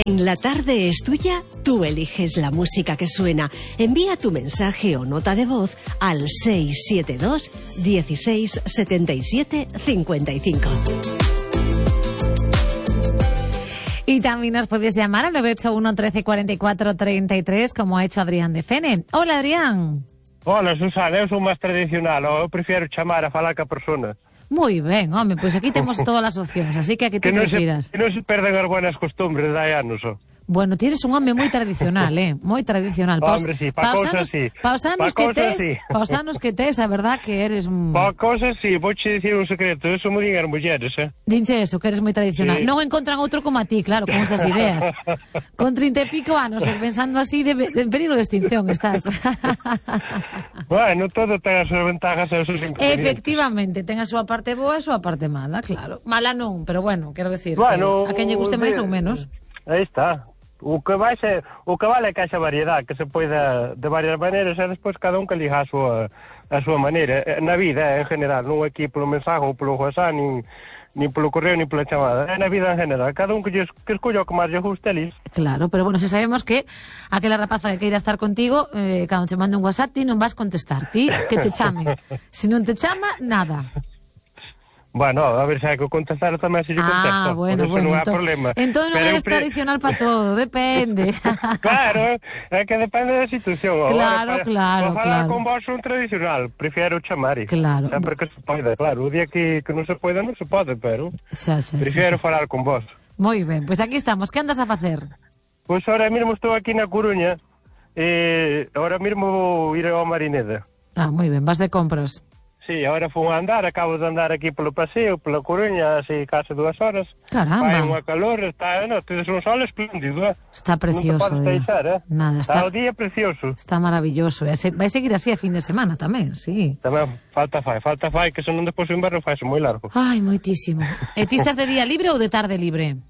En La Tarde es Tuya, tú eliges la música que suena. Envía tu mensaje o nota de voz al 672 16 77 55. Y también nos puedes llamar al 981 13 44 33, como ha hecho Adrián de Fene. Hola, Adrián. Hola, Susana, eu sou máis tradicional, eu prefiro chamar a falar ca persona. Moi ben, home, pois aquí temos todas as opcións, así que aquí te prefiras. Que non se perden as buenas costumbres de hai anos, ó. Bueno, tienes un home moi tradicional, moi tradicional. Hombre, sí, pa cousas sí. Pa os anos que tes, a verdad que eres... Pa cousas sí, vouche dicir un secreto, eso mo din as mulleres, Dinche eso, que eres moi tradicional. Sí. Non encontran outro como a ti, claro, con esas ideas. Con 30 e pico anos, pensando así, de peligro de extinción estás. Bueno, todo ten as súas ventajas e os seus inconvenientes. Efectivamente, ten a súa parte boa e a súa parte mala, claro. Mala non, pero bueno, quero decir, bueno, que a quen lle guste máis ou menos. Aí está. O que vale é que haxa variedade, que se poida de varias maneiras e despois cada un que liga a súa maneira. Na vida, en general, non aquí polo mensaje ou polo WhatsApp, nin polo correo, nin pola chamada. É na vida en general. Cada un que escolla o que máis lle guste, lis. Claro, pero bueno, se sabemos que aquela rapaza que queira estar contigo, cando te mande un WhatsApp, ti non vas contestar. Ti, que te chame. Se non te chama, nada. Bueno, a ver se hai que contestar tamén se lle contesto. Bueno, non hai problema. Entón non eres tradicional para todo, depende. Claro, é que depende da situación. Claro. Para falar con vos un tradicional, prefiero chamar. Claro. Sempre que se pode, claro. O día que non se pode, non se pode, pero prefiero falar con vos. Moi ben, pois aquí estamos. Que andas a facer? Pois ahora mesmo estou aquí na Coruña e ahora mesmo vou ir ao Marineda. Moi ben, vas de compras. Sí, agora fui a andar, acabo de andar aquí polo paseo, pola Coruña, así case 2 horas. Caramba. Vai unha calor, está, tedes un sol espléndido, Está precioso. Non te podes deixar, Nada, está o día precioso. Está maravilloso. Vai seguir así a fin de semana tamén, sí. Tamén falta fai, que senón despois o inverno faise moi largo. Ai, moitísimo. E ti estás de día libre ou de tarde libre?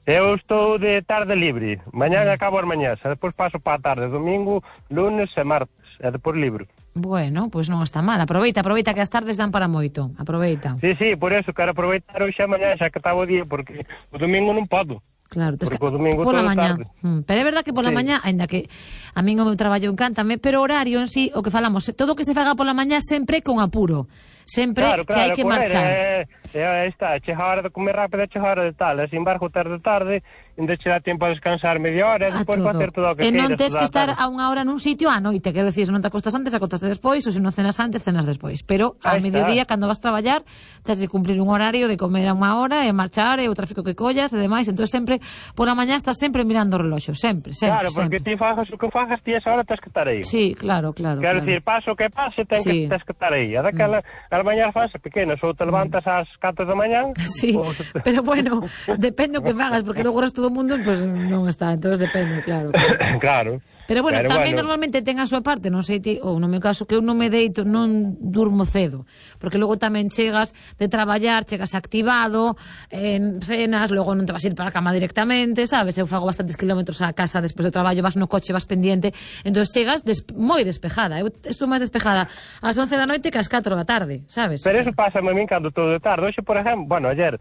Eu estou de tarde libre. Mañán acabo as mañás, e despois paso para a tarde, domingo, lunes e martes, e despois libre. Bueno, pois non está mal. Aproveita que as tardes dan para moito. Aproveita. Sí, por eso quero aproveitar hoxe a mañá, xa que está o día, porque o domingo non podo. Claro, porque o domingo pola todo mañá. tarde. Pero é verdad que pola mañá, aínda que a min o meu traballo encántame, pero o horario en sí, o que falamos, todo o que se faga pola mañá sempre con apuro. Sempre claro, que hai que marchar. Está, chega a hora de comer rápido, chega a hora de tal, sin embargo, tarde, ainda che dá tempo a descansar media hora, e despois facer todo o que queiras. E non tes que estar a unha hora nun sitio á noite, quero dicir, se non te acostas antes, acostaste despois, ou se non cenas antes, cenas despois. Pero ao mediodía, cando vas traballar, tens de cumprir un horario de comer a unha hora, e marchar, e o tráfico que collas, e demais, entón sempre, pola mañá estás sempre mirando o reloxo, sempre. Claro, porque ti fagas o que fagas, ti esa hora tens que estar aí. Sí, claro. Quero dicir, paso o que pase, tens que estar aí. A daquela, as mañás fase pequenas, ou te levantas ás 4 da mañán. Sí, pero bueno, depende o que fagas, porque logo resto do mundo, pues non está, entonces depende, claro. Claro. Pero bueno, tamén normalmente ten a súa parte, non sei ti, ou no meu caso, que eu non me deito, non durmo cedo, porque logo tamén chegas de traballar, chegas activado, en cenas, logo non te vas a ir para a cama directamente, sabes? Eu fago bastantes kilómetros a casa despois do traballo, vas no coche, vas pendiente, entón chegas moi despejada. Eu estou máis despejada ás 11 da noite que ás 4 da tarde, sabes? Pero eso pasa a min cando todo de tarde. Hoxe, por exemplo, ayer,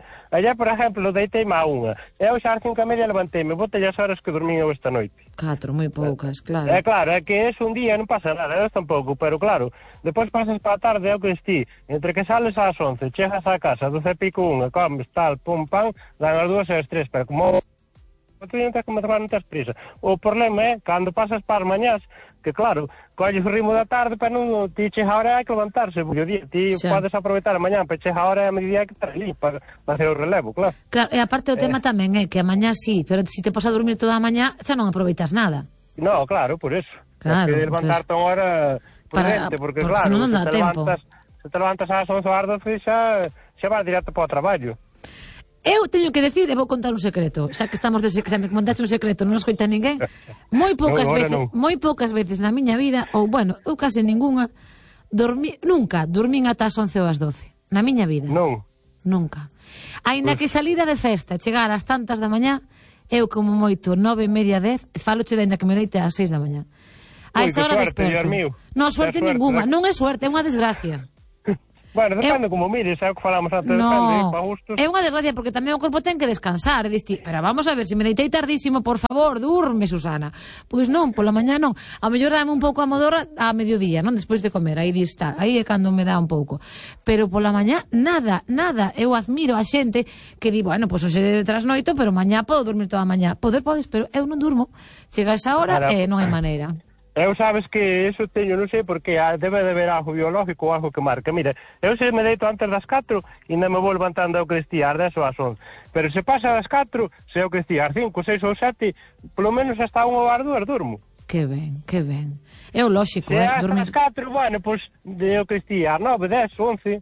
por exemplo, deiteime a 1. Eu xa ás 5:30 levanteime, botei as horas que dormín eu esta noite. 4, moi poucas, claro. Claro, é que es un día non pasa nada, eu tampouco, pero claro, depois pasas para a tarde, é o que ti, entre que sales ás 11, chegas á casa, 12 e pico 1, comes, tal, pum, pam, dan as 2 e as 3, pero como tú non tens como tomar, non tens prisa. O problema é, cando pasas para as mañás, que claro, colles o ritmo da tarde, pero non ti chega a hora hai que levantarse, porque o día, ti podes aproveitar a mañá, pero chega a hora e a mediodía hai que estar ali para hacer o relevo, claro. Claro, e aparte o tema tamén é que a mañá sí, pero se te pos a dormir toda a mañá, xa non aproveitas nada. No, claro, por eso. Claro, tens que levantarte unha hora prudente, porque claro, non dá tempo. Se te levantas ás 11 ou ás 12 xa vas directo para o traballo. Eu teño que decir, e vou contar un secreto, xa que estamos xa me contaste un secreto, non nos coita ninguén. Moi poucas veces na miña vida, ou bueno, eu case ningunha, nunca dormín ata as 11 ou as 12, na miña vida. Non. Nunca. Aínda que salira de festa, chegar ás tantas da mañá, eu como moito 9:30, 10, faloche de ainda que me deite ás 6 da mañá. A esa hora desperto. Non, suerte ningunha, non é suerte, é unha desgracia. Bueno, depende como mires, é o que falamos antes, depende, para gustos. É unha desgracia porque tamén o corpo ten que descansar, pero vamos a ver, se me deitei tardísimo, por favor, durme, Susana. Pois non, pola mañá non. A mellor dame un pouco a modorra a mediodía, non? Despois de comer, aí está, aí é cando me dá un pouco. Pero pola mañá, nada. Eu admiro a xente que di, bueno, pois hoxe de trasnoito, pero mañá podo dormir toda a mañá. Podes, pero eu non durmo. Chega esa hora e non hai maneira. Eu sabes que eso teño, non sei porque debe de haber algo biológico ou algo que marca. Mira, eu se me deito antes das 4 e non me vou levantando ao que ás 10 ou ás 11. Pero se pasa das 4, se eu que ás 5, 6 ou 7, polo menos hasta 1 ou ás 2 durmo. Que ben. É o lóxico, dormir. Se hasta das 4, bueno, pois eu que ás 9, 10, 11.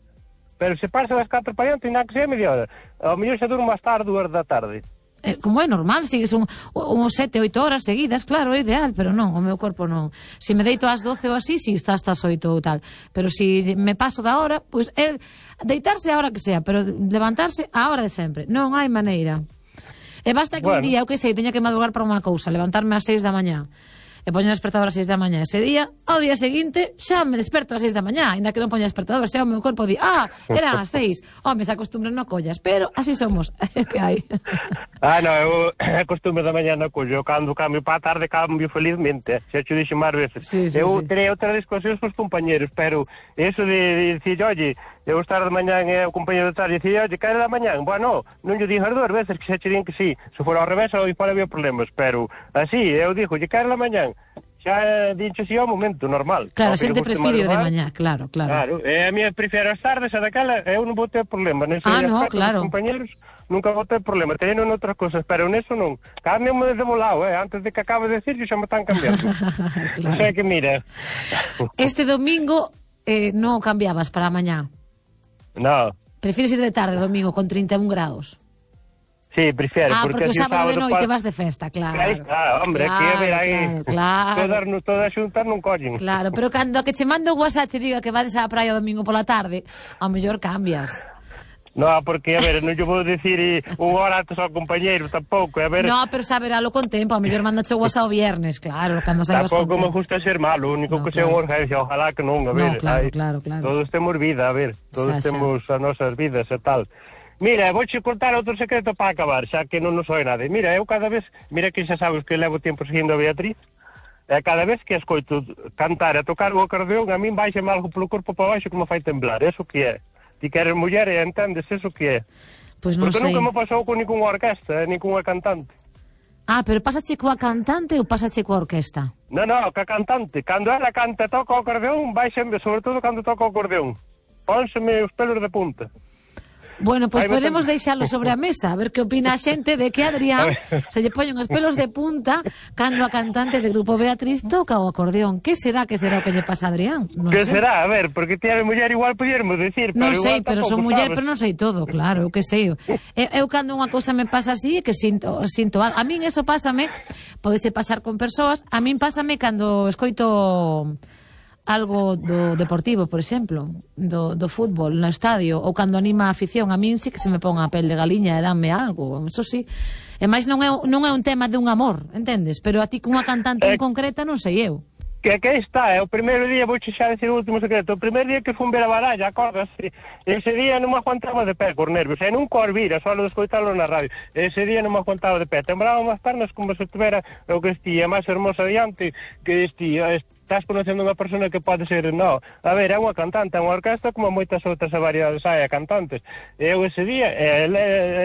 Pero se pasa das 4 para diante, non que sea media hora. Ao mellor se durmo hasta as 2 da tarde. Como é normal, sigues uns 7, 8 horas seguidas, claro, é ideal, pero non, o meu corpo non. Se me deito ás 12 ou así, si está hasta as 8 ou tal. Pero se me paso da hora, pois é deitarse a hora que sea, pero levantarse a hora de sempre. Non hai maneira. E basta que un día, eu que sei, teña que madrugar para unha cousa, levantarme ás 6 da mañá. E poño o despertador ás 6 da mañá ese día, ao día seguinte xa me desperto ás 6 da mañá, ainda que non poña despertador, xa o meu corpo di, eran as 6, se acostumbran no collas, pero así somos, que hai. Non, eu acostumbro da mañá no collo, cando cambio para a tarde cambio felizmente, xa te dixo máis veces. Eu terei outras discusións cos compañeros, pero eso de dicir, oye, eu estar de mañán e o compañero de tarde dicir, oye, que era da mañán? Bueno, non lle dixo as 2 veces que xa che din que sí, se fora ao revés, aí fora había problemas, pero así, eu dixo, que era da mañán? Xa dincho si ao momento, normal. Claro, a xente prefiro de mañá, claro. E a mí prefiro as tardes, a daquela, eu non vou ter problema. Claro. Os compañeros nunca vou ter problema, teñen outras cosas, pero neso non. Cámbiame de molao, antes de que acabe de decir, xa me están cambiando. Claro. O sea que, mira... Este domingo non cambiabas para a mañá? Non. Prefires ir de tarde, domingo, con 31 grados? Sí, prefiero, porque o sábado de noite vas de festa, claro. Claro, hombre, que a ver aí, todas xuntas non collen. Claro, pero cando que che mando o WhatsApp te diga que vades á praia o domingo pola tarde, ao mellor cambias. Non, porque, a ver, non yo vou dicir unha hora antes ao compañeiro, tampouco, a ver... Non, pero saberalo con tempo, ao mellor mandache o WhatsApp o viernes, claro, cando saibas con tempo. Tampouco me gusta ser malo, o único que sea unha urgencia, ojalá que non, a ver. Claro. Todos temos vida, a ver, todos temos as nosas vidas e tal. Mira, vouche contar outro secreto para acabar, xa que non nos soe nada. Mira, eu cada vez, mira que xa sabes que levo tempo seguindo a Beatriz, e cada vez que escoito cantar e tocar o acordeón, a min baixame algo polo corpo para baixo que me fai temblar, eso que é. Ti que eres muller e entendes eso que é. Pois non sei. Porque nunca me pasou con ninguna orquesta, nin cunha cantante. Pero pásache coa cantante ou pásache coa orquesta? Non, coa cantante. Cando ela canta e toca o acordeón, baixame, sobre todo cando toca o acordeón. Pónseme os pelos de punta. Bueno, pois podemos deixalo sobre a mesa, a ver que opina a xente de que Adrián se lle poñen os pelos de punta cando a cantante do grupo Beatriz toca o acordeón. Que será o que lle pasa a Adrián? Que será? A ver, porque ti eres muller igual podíamos decir, pero non sei, pero son muller, pero non sei todo, claro, eu que sei. Eu cando unha cousa me pasa así é que sinto algo. A min eso pásame, podese pasar con persoas, a min pásame cando escoito algo do deportivo, por exemplo, do fútbol no estadio, ou cando anima a afición, a min sí que se me pon a pel de galiña e danme algo, eso sí. E máis non é un tema de un amor, entendes? Pero a ti cunha cantante en concreta non sei eu. Que está, o primeiro día, vou xa decir o último secreto, o primeiro día que fun ver a baralla, acordas? Ese día non me aguantaba de pé, por nervios, e nunca os vira, só de escoitalo na radio, ese día non me aguantaba de pé, temblaba as pernas como se tuvera o que estía máis hermosa diante, que estás conocendo unha persona que pode ser, a ver, é unha cantante, é unha orquesta como moitas outras e varias cantantes, e eu ese día,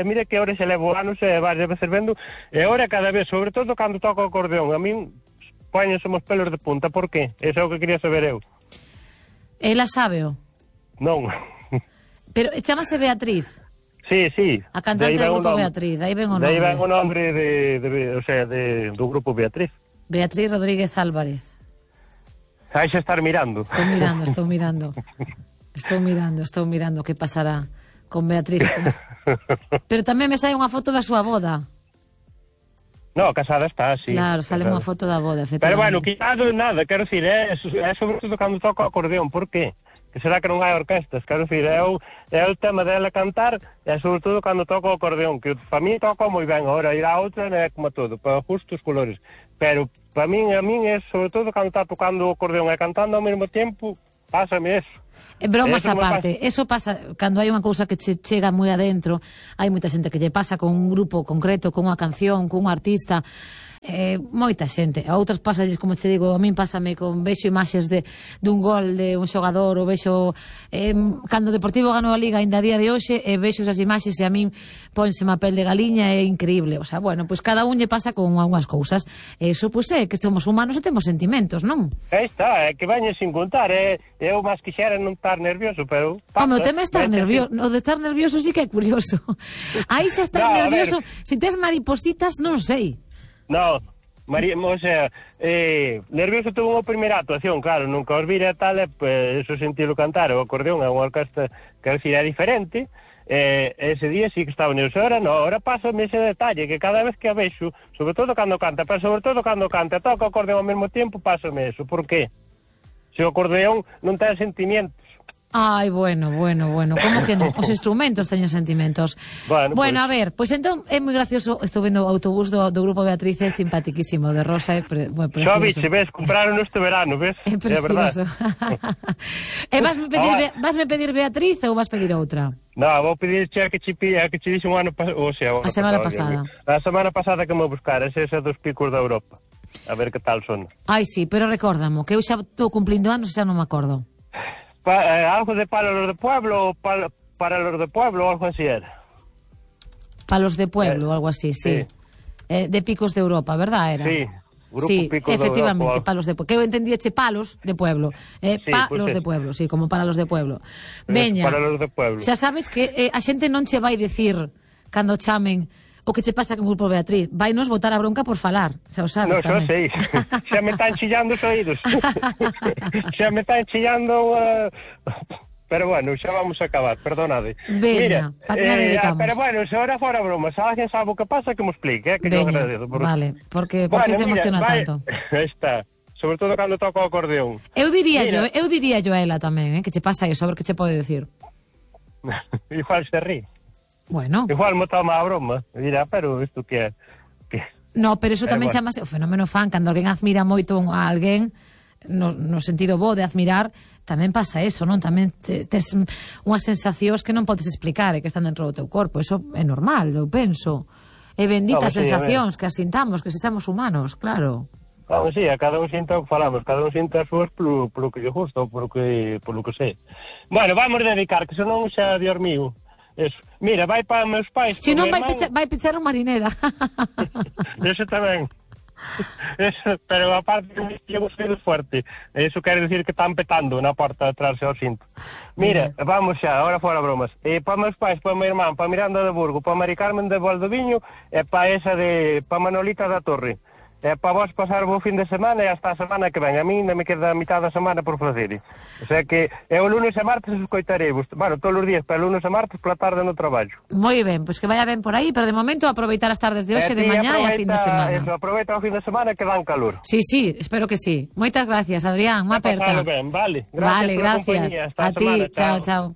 mire que ahora xa levo anos e varias veces vendo, e ahora cada vez, sobre todo cando toco o acordeón, a min poñense os pelos de punta, por qué? Eso é o que quería saber eu. Ela sábeo? Non. Pero chamase Beatriz? Sí. A cantante do grupo Beatriz, aí ven o nome. Aí ven o nombre do grupo Beatriz. Beatriz Rodríguez Álvarez. Aí xa estar mirando. Estou mirando que pasará con Beatriz. Pero tamén me sai unha foto da súa boda. No, casada está, sí. Claro, sale unha foto da boda, efectivamente. Pero bueno, quitado nada, quero dicir, é sobre todo cando toca o acordeón, por qué? Que será que non hai orquestas, quero dicir, é o tema dela cantar, e sobre todo cando toca o acordeón, que para mí toca moi ben, agora ir a outra é como todo, para justos colores, pero para min, a min é sobre todo cando está tocando o acordeón e cantando ao mesmo tempo, pásame eso. Bromas aparte, eso pasa cando hai unha cousa que che chega moi adentro. Hai moita xente que lle pasa con un grupo concreto, con unha canción, con un artista, moita xente. A outros pasalles, como che digo, a min pásame con vexo imaxes dun gol de un xogador, ou vexo cando o Deportivo ganou a Liga ainda a día de hoxe, e vexo esas imaxes e a min pónseme a pel de galiña, é increíble. O sea, bueno, pois cada un lle pasa con algunhas cousas. Eso, pois é que somos humanos e temos sentimentos, non? Aí está, é que veñe sin contar, eu máis quixera non estar nervioso, pero... Home, o tema é estar nervioso. O de estar nervioso sí que é curioso. Aí xa estar nervioso, se tes maripositas, non sei. No, o sea, nervioso tuvo unha primeira actuación, claro, nunca os vira tal, pues, eso sentilo cantar, o acordeón é unha orquesta que é diferente, ese día sí que estaba nervioso, ahora pásame ese detalle, que cada vez que a vexo, sobre todo cando canta, pero sobre todo cando canta, toca o acordeón ao mesmo tempo, pásame eso, por qué? Se o acordeón non ten sentimientos. Ai, bueno, como que non? Os instrumentos teñen sentimentos. Bueno, a ver, pois entón é moi gracioso. Estou vendo o autobús do grupo Beatriz, é simpatiquísimo, de rosa, é precioso. Xa biche, ves, compraron este verano, ves? É precioso. E vasme pedir Beatriz ou vas pedir outra? No, vou pedir a que che dixe un ano pasado, o sea, a semana pasada. A semana pasada que me buscaras, esa dos picos da Europa. A ver que tal son. Ai, sí, pero recórdamo, que eu xa estou cumplindo anos e xa non me acordo. Algo de palos de pueblo, para los de pueblo, algo así era. Palos de pueblo, algo así, sí. De picos de Europa, ¿verdad? Era? Sí, grupo sí, picos efectivamente, de Europa. palos de pueblo. Que eu entendíache palos de pueblo. Sí, palos de pueblo, sí, como para los de pueblo. Veña, para los de pueblo. Xa sabes que a xente non che vai dicir cando chamen o que che pasa con o grupo Beatriz. Vai nos botar a bronca por falar, xa o sabes tamén. No, xa sei. Xa me están chillando os oídos. Xa me están chillando... Pero bueno, xa vamos a acabar, perdonade. Veña, para que la dedicamos. Pero bueno, se ahora fora broma, se alguén sabe o que pasa, que me explique, que Veña, yo agradezo. Vale, porque se emociona tanto. Está, sobre todo cando toca o acordeón. Eu diría yo a ela tamén, que che pasa eso, a ver que che pode decir. Igual se rí. Bueno. Igual me toma a broma. Dirá, pero isto que é? No, pero eso tamén chamase o fenómeno fan, cando alguén admira moito a alguén, no sentido bo de admirar, tamén pasa eso, non? Tamén tes unhas sensacións que non podes explicar e que están dentro do teu corpo. Eso é normal, eu penso. É benditas sensacións que asintamos, que sexamos humanos, claro. Claro, sí, a cada un sinta o que falamos, cada un sinta as súas polo que lle gusta ou polo que sei. Bueno, vamos dedicar, que senón xa de hormigo. Eso. Mira, vai para meus pais. Se non vai pechar un marinera. Eso tamén. Eso, pero aparte que llevo sonido fuerte. Eso quere decir que están petando na porta de atrás ao cinto. Mira, vamos xa, ahora fora bromas. Para meus pais, para meu irmán, para Miranda de Burgo, para Mari Carmen de Valdoviño e para esa para Manolita da Torre. Para vos pasar o fin de semana e hasta a semana que ven. A mí me queda a mitad da semana por facer. O sea que o lunes e martes escoitarei. Bueno, todos os días, pero lunes e martes pola tarde no traballo. Moi ben, pois que vaya ben por aí, pero de momento aproveitar as tardes de hoxe, de mañá e a fin de semana. Eso, aproveita o fin de semana que dan calor. Sí, espero que sí. Moitas gracias, Adrián. Unha aperta. Ben, vale. Gracias. A ti, chao.